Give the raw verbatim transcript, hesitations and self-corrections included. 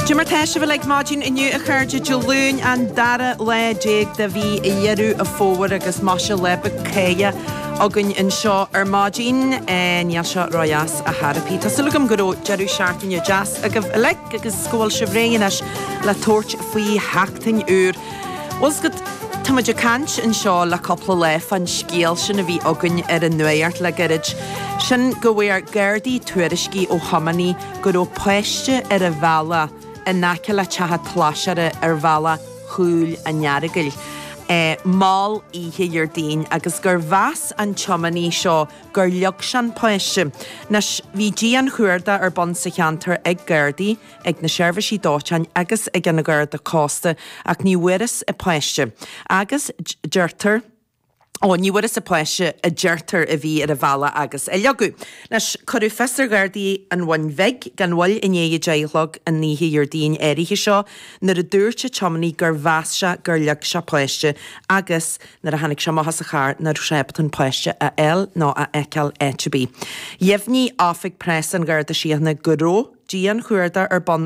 Cad é mar tá sibh uilig maidin inniu a chairde Dé Luain an dara lá déag de mhí Dheireadh an Fómhair agus maise leaba céille againn anseo ar maidin níl sé ródheas ar chor ar bith. Tá súil agam go raibh deireadh seachtaine deas agaibh uilig agus go bhfuil sibh réidh anois le tabhairt faoi sheachtain úr. Bhfuil a fhios agat Tá muid ag caint anseo le cúpla lá fán scéal sin a bhí againn ar an nuacht le gairid. Sin go bhfuair Gardaí tuairiscí ó thiománaí go raibh páiste ar a bhealach in aice le teach an tsláiséara ar bhealach Chúil an Earagail. E, mall oíche Dhéardaoin agus gur mheas an tiománaí seo gur leag sé an páiste. Anois bhí dianchuardach ar bun sa cheantar ag Gardaí, ag na seirbhísí dóiteáin agus ag an Gharda Cósta ach ní bhfuarthas an páiste. Agus deirtear Ó ní bhfuarthas an páiste a deirtear a bhí ar a bhealach agus a leagadh. Anois cuireadh fios ar Ghardaí an Bhun Bhig gan mhoill i ndiaidh a deich a chlog an oíche Dhéardaoin áirithe seo nuair a dúirt an tiománaí gur mheas sé gur leag sé páiste agus nuair a tháinig sé amach as a charr nach raibh sé ábalta an páiste a fháil nó a fheiceáil áit ar bith. Dheimhnigh Oifig Preasa an Gharda Síochána go raibh dianchuardach ar bun